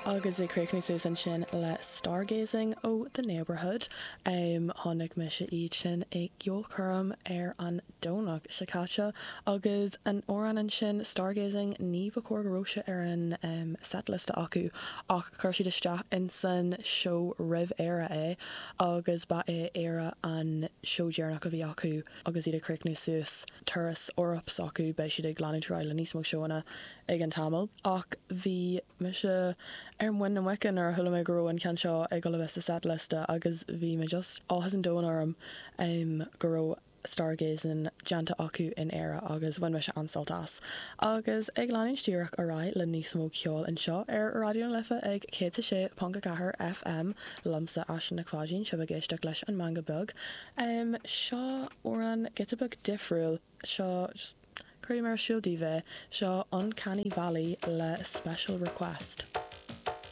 Agus ag críochnú suas ansin le Stargazing ó The Neighbourhood. Chonaic mise iad sin i gceolchoirm ar an Domhnach seo caite agus an amhrán ansin Stargazing ní ba chóir go raibh sé ar an setlist acu ach chuir siad isteach insan seó roimh Éire é agus ba é Éire an seó deireanach a bhí acu agus iad ag críochnú suas turas Eoraip s'acu. Beidh siad ag leanúint ar aghaidh le níos mó seóanna i gceann tamaill ach bhí mise ar muin na muice nuair a chuala mé go raibh an ceann seo ag dul a bheith sa setlist agus bhí mé just áthas an domhain orm go raibh Stargazing déanta acu in Éire agus bhain mise an-sult as. Agus ag leanúint díreach ar aghaidh le níos mó ceoil anseo ar Raidió na Life ag 106.4 FM liomsa Aisling Nic Pháidín, sibh ag éisteacht leis an Meangadh Beag. Seo amhrán giota beag difriúil, seo just Cuirfidh mé ar siúl daoibh é. Seo Uncanny Valley le Special Request.